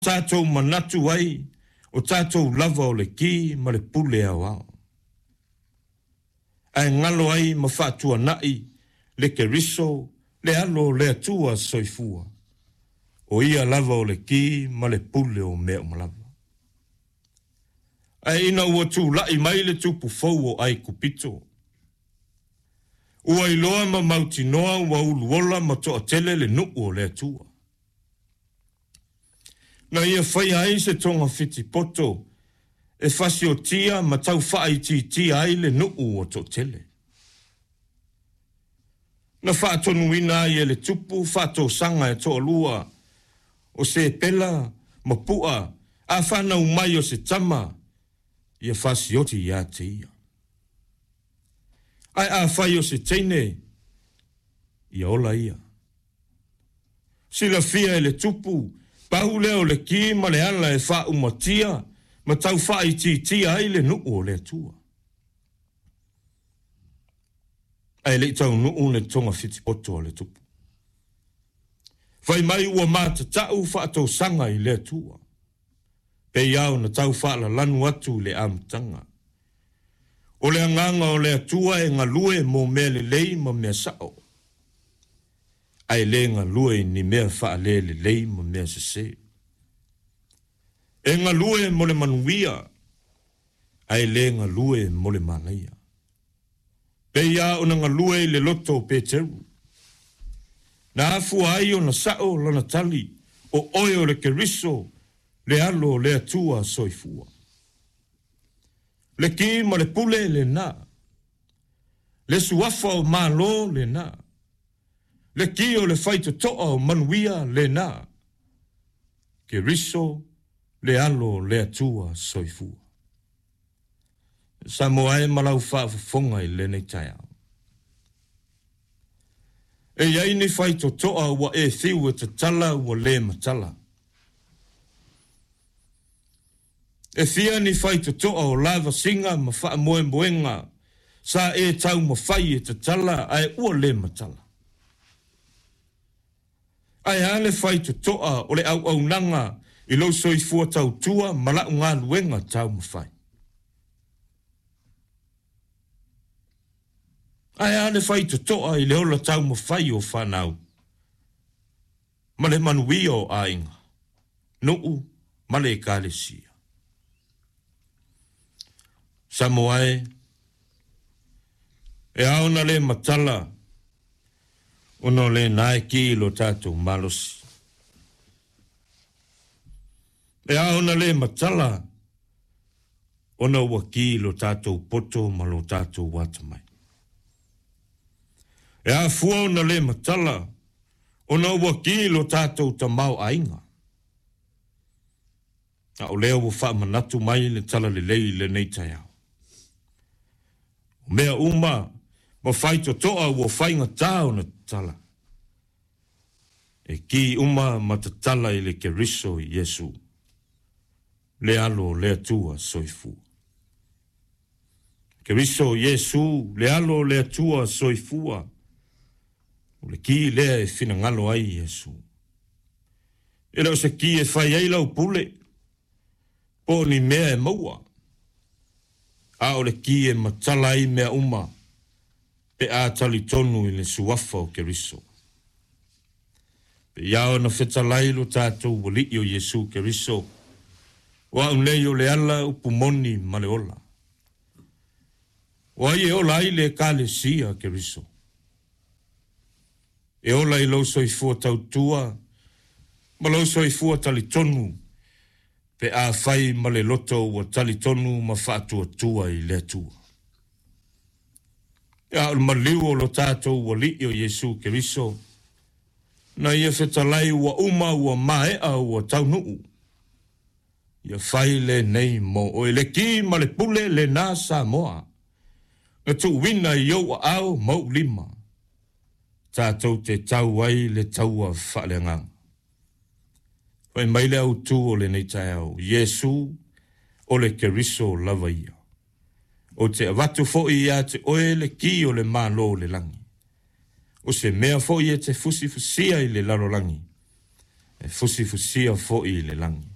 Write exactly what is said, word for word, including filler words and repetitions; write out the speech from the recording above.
Tatou manatu ai o tatou lava o le ki ma le pule aoao, ae galo ai ma faatuanai le Keriso, le Alo o le Atua soifua, o ia lava o le ki ma le pule o mea uma lava. Ae ina ua tulai mai le tupu fou o Aikupito, ua iloa ma mautinoa ua uluola ma toatele le nuu o le Atua. Na ia faia ai se togafitipoto e fasiotia ma tau faaitiitia ai le nuu ua toatele. Na faatonuina ai e le tupu faatosaga e toalua o Sepela ma Pua, a fanau mai o se tama, ia fasioti ia te ia. Ae afai o se teine, ia ola ia. Silafia e le tupu, pau lea o le ki ma le ala e faaumatia ma tau faaitiitia ai le nuu o le Atua. Ae le i taunuu le togafitipoto a le tupu. Fai mai ua matatau faatosaga i le Atua, pei lava ona tau faalalanu atu i le amataga. O le agaga o le Atua e galue mo mea lelei ma mea sao, ae le galue i ni mea faalelelei ma mea sese. E galue mo le manuia, ae le galue mo le manaia. Pei lava ona galue i le loto o Peteru. Na afua ai ona sao lana tali, o oe o le Keriso, le Alo o le Atua soifua. Le ki ma le pule lena. Le suafa o Malo lena. Le ki o le faitotoa o manuia lena. Keriso, le Alo o le Atua soifua. Samoa e ma lau faafofoga i lenei taeao. E i ai ni faitotoa ua e fiu e tatala ua le matala. E fia ni faitotoa o lavasiga ma faamoemoega sa e taumafai e tatala ae ua le matala. Ae a le faitotoa o le auaunaga i lou soifua tautua ma lau galuega taumafai. Ae a le faitotoa i le ola taumafai o fanau ma le manuia o aiga, nuu ma le ekalesia. Samoa e, e ao ona le matala ona o lena e ki i lo tatou malosi. E ao ona le matala ona ua ki i lo tatou poto ma lo tatou atamai. E afua ona le matala ona ua ki i lo tatou tamaoaiga. A o lea ua faamanatu mai le talalelei i lenei taeao. O mea uma ma faitotoa ua faigata ona tatala. E ki uma ma tatala i le Keriso Iesu, le Alo o le Atua soifua. Keriso Iesu, le Alo o le Atua soifua, o le ki lea e finagalo ai Iesu. E le o se ki e fai ai lau pule, po o ni mea e maua, a o le ki e matala ai mea uma pe a talitonu i le suafa o Keriso. Pei lava ona fetalai lo tatou Alii o Iesu Keriso, o au nei o le ala, upu moni ma le ola. O ai e ola ai le ekalesia Keriso? E ola i lou soifua tautua ma lou soifua talitonu pe afai ma le loto ua talitonu ma faatuatua i le Atua. A o le maliu o lo tatou Alii o Iesu Keriso, na ia fetalai ua uma ua maea ua taunuu, ia fai lenei mo oe le ki ma le pule lena Samoa, na tuuina i ou aao ma ou lima, tatou te tau ai le taua faaleagaga. Fai mai le autu o lenei taeao, Iesu o le Keriso lava ia. Ou te avatu foi ia te oe le ki o le Malo o le lagi. O se mea foi e te fusifusia i le lalolagi, e fusifusia foi i le lagi.